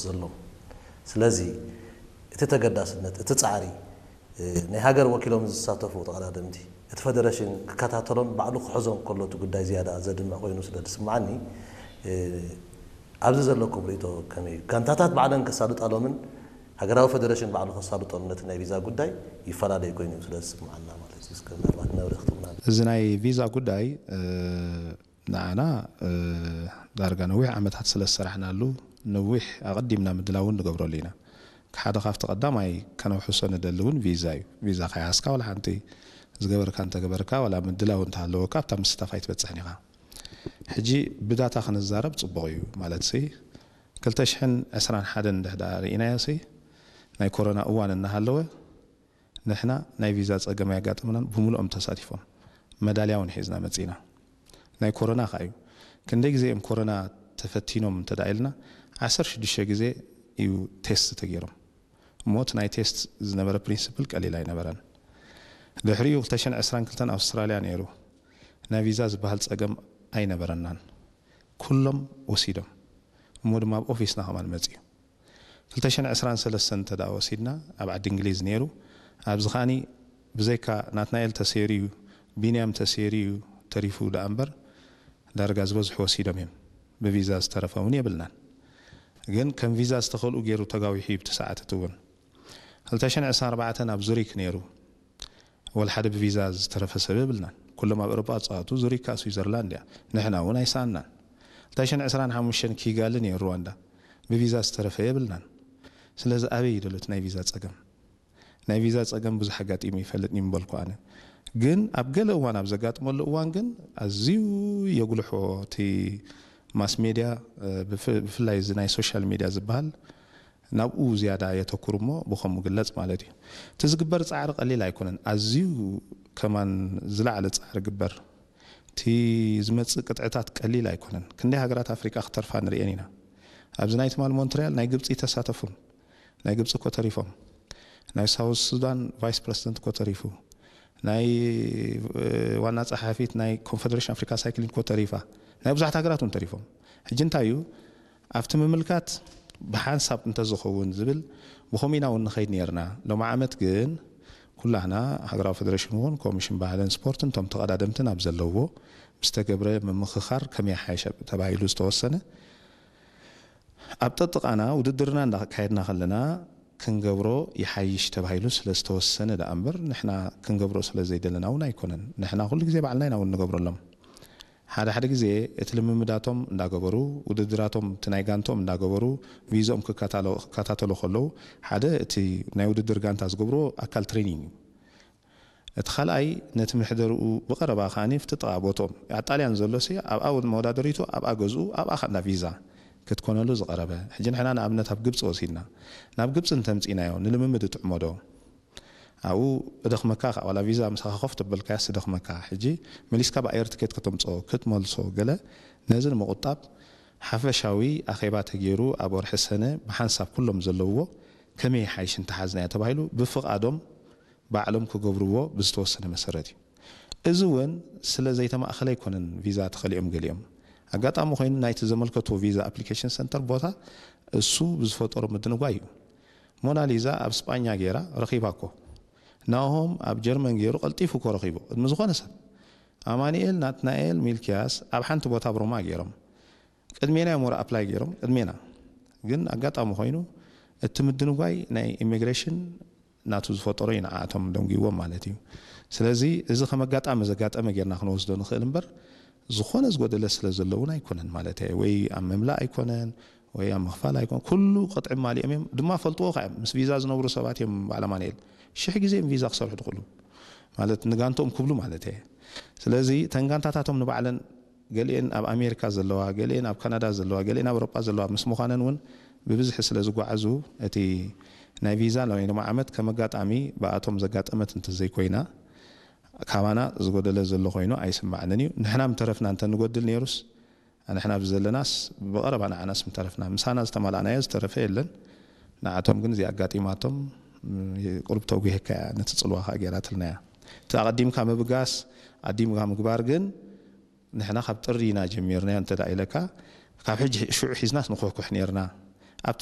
ዘሎ። ስለዚ እቲ ተገዳስነት፣ እቲ ጻዕሪ፣ እ፣ ናይ ሃገር ወኪሎም ዝሳተፉ ተቐዳደምቲ፣ እቲ ፈደረሽን ክከታተሎን ባዕሉ ክሕዞን ከሎ እቲ ጉዳይ ዝያዳ ዘድምዕ ኮይኑ ስለ ዝስምዓኒ፣ እ፣ ኣብዚ ዘለኩም ርእይቶ ከመይ እዩ? ጋንታታት ባዕለን ከሳልጣሎምን ሃገራዊ ፈደረሽን ባዕሉ ከሳልጦም ነቲ ናይ ቪዛ ጉዳይ ይፈላለይ ኮይኑ እዩ ስለ ዝስምዓና ማለት እዩ። እስከ ምናልባት መብርሂ ክትህቡና። እዚ ናይ ቪዛ ጉዳይ፣ እ፣ ንዓና፣ እ፣ ዳርጋ ነዊሕ ዓመታት ስለ ዝሰራሕናሉ፣ ነዊሕ ኣቐዲምና ምድላው እውን ንገብረሉ ኢና። ሓደ ካብቲ ቀዳማይ ከነውሕሶ ንደሊ እውን ቪዛ እዩ። ቪዛ ከይሓዝካ ዋላ ሓንቲ ዝገበርካ እንተገበርካ፣ ዋላ ምድላው እንተሃለወካ፣ ኣብታ ምስታፍ ኣይትበጽሕን ኢኻ። ሕጂ ብዳታ ክንዛረብ ጽቡቕ እዩ። ማለትሲ፣ ክልተ ሽሕን ዕስራን ሓደን እንድሕዳ ርኢናዮሲ፣ ናይ ኮሮና እዋን እናሃለወ፣ ንሕና ናይ ቪዛ ጸገም ኣየጋጠመናን፣ ብምሉኦም ተሳቲፎም። መዳልያ እውን ሒዝና መጺና። ናይ ኮሮና ከኣ እዩ። ክንደይ ግዜ እዮም ኮሮና ተፈቲኖም እንተ ደኣ ኢልና፣ ዓሰርተ ሽዱሽተ ግዜ እዩ ቴስት ተገይሮም። እሞ እቲ ናይ ቴስት ዝነበረ ፕሪንስፕል ቀሊል ኣይነበረን። ድሕሪኡ ክልተ ሽሕን ዕስራን ክልተን ኣውስትራልያ ነይሩ። ናይ ቪዛ ዝበሃል ጸገም ኣይነበረናን። ኩሎም ወሲዶም። እሞ ድማ ኣብ ኦፊስና ከማን መጺኡ። ክልተ ሽሕን ዕስራን ሰለስተን እንተ ደኣ ወሲድና፣ ኣብ ዓዲ እንግሊዝ ነይሩ። ኣብዚ ከኣኒ ብዘይካ ናትናኤል ተሰይሩ እዩ፣ ቢንያም ተሰይሩ እዩ ተሪፉ ደኣ እምበር፣ ዳርጋ ዝበዝሑ ወሲዶም እዮም። ብቪዛ ዝተረፈ እውን የብልናን። ግን ከም ቪዛ ዝተኸልኡ ገይሩ ተጋዊሑ እዩ፣ ብቲ ሰዓት እቲ እውን። ክልተ ሽሕን ዕስራን ኣርባዕተን ኣብ ዙሪክ ነይሩ። ወላ ሓደ ብቪዛ ዝተረፈ ሰብ የብልናን። ኩሎም ኣብ ኤውሮጳ ዝጻወቱ፣ ዙሪክ ከኣ ስዊዘርላንድ እያ። ንሕና እውን ኣይሰኣንናን። ክልተ ሽሕን ዕስራን ሓሙሽተን ኪጋሊ ነይሩ፣ ሩዋንዳ። ብቪዛ ዝተረፈ የብልናን። ስለዚ ኣበይ እዩ ደሎ እቲ ናይ ቪዛ ጸገም? ናይ ቪዛ ጸገም ብዙሕ ኣጋጢሙ ይፈልጥ እዩ ምበልኩ ኣነ። ግን ኣብ ገለ እዋን፣ ኣብ ዘጋጥመሉ እዋን ግን ኣዝዩ የጉልሖ። እቲ ማስ ሜድያ፣ እ፣ ብፍ-፣ ብፍላይ እዚ ናይ ሶሻል ሜድያ ዝበሃል ናብኡ ዝያዳ የተኩር እሞ ብኸምኡ ግለጽ ማለት እዩ። እቲ ዝግበር ጻዕሪ ቀሊል ኣይኮነን። ኣዝዩ ከማን ዝለዓለ ጻዕሪ ግበር። እቲ ዝመጽእ ቅጥዕታት ቀሊል ኣይኮነን። ክንደይ ሃገራት ኣፍሪቃ ክተርፋ ንርእየን ኢና። ኣብዚ ናይ ትማል ሞንትሪያል ናይ ግብጺ ተሳተፉን። ናይ ግብጺ እኮ ተሪፎም። ናይ ሳውዝ ሱዳን ቫይስ ፕረዚደንት እኮ ተሪፉ። ናይ፣ እ፣ ዋና ጸሓፊት ናይ ኮንፈደሬሽን ኣፍሪካ ሳይክሊንግ እኮ ተሪፋ። ናይ ብዙሓት ሃገራት እውን ተሪፎም። ሕጂ እንታይ እዩ? ኣብቲ ምምልካት ብሓንሳብ እንተዝኸውን ዝብል ብኸምኡ ኢና እውን ንኸይድ ነይርና። ሎሚ ዓመት ግን ኩላህና ሃገራዊ ፈደሬሽን እውን ኮሚሽን ባህልን ስፖርትን እቶም ተቐዳደምትን ኣብ ዘለዎ ምስ ተገብረ ምምኽኻር ከመይ ይሓይሽ ተባሂሉ ዝተወሰነ ኣብ ጠጥቓና ውድድርና እንዳካየድና ከለና ክንገብሮ ይሓይሽ ተባሂሉ ስለ ዝተወሰነ ደኣ እምበር ንሕና ክንገብሮ ስለ ዘይደለና እውን ኣይኮነን። ንሕና ኩሉ ግዜ ባዕልና ኢና እውን ንገብረሎም። ሓደ ሓደ ግዜ እቲ ልምምዳቶም እንዳገበሩ፣ ውድድራቶም እቲ ናይ ጋንቶም እንዳገበሩ፣ ቪዝኦም ክከታሎ-፣ ክከታተሉ ከለዉ፣ ሓደ እቲ ናይ ውድድር ጋንታ ዝገብርዎ ኣካል ትሬኒንግ እዩ። እቲ ካልኣይ ነቲ ምሕደርኡ ብቐረባ ከኣ ኣብቲ ጥቓ ቦትኦም፣ ኣብ ጣልያን ዘሎሲ ኣብኣ እውን መወዳደሪቱ ኣብኣ ገዝኡ ኣብኣ ከኣ እንዳ ቪዛ ክትኮነሉ ዝቐረበ። ሕጂ ንሕና ንኣብነት ኣብ ግብጺ ወሲድና፣ ናብ ግብጺ እንተምጺእናዮ ንልምምድ ይጥዕሞ ዶ? ኣብኡ እደኽመካ ከኣ፣ ዋላ ቪዛ ምሳኻ ኮፍ ተበልካያስ እደኽመካ። ሕጂ መሊስካ ብኣየር ትኬት ከተምጽኦ፣ ክትመልሶ ገለ፣ ነዚ ንምቑጣብ ሓፈሻዊ ኣኼባ ተገይሩ ኣብ ወርሒ ሰነ ብሓንሳብ ኩሎም ዘለውዎ ከመይ ይሓይሽ እንተሓዝናዮ ተባሂሉ ብፍቓዶም ባዕሎም ክገብርዎ ብዝተወሰነ መሰረት እዩ። እዚ እውን ስለ ዘይተማእኸለ ኣይኮነን ቪዛ ተኸሊኦም ገሊኦም። ኣጋጣሚ ኮይኑ ናይቲ ዘመልከትዎ ቪዛ ኣፕሊኬሽን ሰንተር ቦታ እሱ ብዝፈጠሮ ምድንጓይ እዩ። ሞናሊዛ ኣብ ስጳኛ ገይራ ረኺባ እኮ። ናሆም ኣብ ጀርመን ገይሩ ቀልጢፉ እኮ ረኺቡ። ቅድሚ ዝኾነ ሰብ። ኣማኑኤል፣ ናትናኤል፣ ሚልኪያስ ኣብ ሓንቲ ቦታ ኣብ ሮማ ገይሮም። ቅድሜና እዮም ወረ ኣፕላይ ገይሮም፣ ቅድሜና። ግን ኣጋጣሚ ኮይኑ እቲ ምድንጓይ ናይ ኢሚግሬሽን ናቱ ዝፈጠሮ እዩ ንዓኣቶም ደንጉይዎም ማለት እዩ። ስለዚ እዚ ከም ኣጋጣሚ ዘጋጠመ ጌርና ክንወስዶ ንኽእል እምበር ዝኾነ ዝጎደለ ስለ ዘሎ እውን ኣይኮነን ማለት እየ። ወይ ኣብ ምምላእ ኣይኮነን፣ ወይ ኣብ ምኽፋል ኣይኮነን። ኩሉ ቅጥዒ ማሊኦም እዮም፣ ድማ ፈልጥዎ ከ እዮም። ምስ ቪዛ ዝነብሩ ሰባት እዮም በዓል ኣማኑኤል። ሽሕ ግዜ እዮም ቪዛ ክሰርሑ ዝኽእሉ። ማለት ንጋንትኦም ክብሉ ማለት እየ። ስለዚ እተን ጋንታታቶም ንባዕለን ገሊኤን ኣብ ኣሜሪካ ዘለዋ፣ ገሊኤን ኣብ ካናዳ ዘለዋ፣ ገሊኤን ኣብ ኣውሮጳ ዘለዋ ምስ ምዃነን እውን ብብዝሒ ስለ ዝጓዓዙ እቲ ናይ ቪዛ ናይ ሎሚ ዓመት ከም ኣጋጣሚ ብኣቶም ዘጋጠመት እንተዘይኮይና ካባና ዝጎደለ ዘሎ ኮይኑ ኣይስማዕንን እዩ። ንሕና ምተረፍና እንተንጎድል ነይሩስ፣ ንሕና ኣብዚ ዘለናስ ብቐረባ ንዓናስ ምተረፍና። ምሳና ዝተማላእናዮ ዝተረፈ የለን። ንዓቶም ግን እዚኣ ኣጋጢማቶም፣ ም፣ ቁሩብ ተጉሄካ እያ፣ ነቲ ጽልዋ ከኣ ገይራትልና እያ። እቲ ኣቐዲምካ ምብጋስ፣ ኣዲምካ ምግባር ግን ንሕና ካብ ጥሪ ኢና ጀሚርናዮ እንተ ደኣ ኢለካ፣ ካብ ሕጂ ሽዑ ሒዝናስ ንኹሕኩሕ ነይርና። ኣብቲ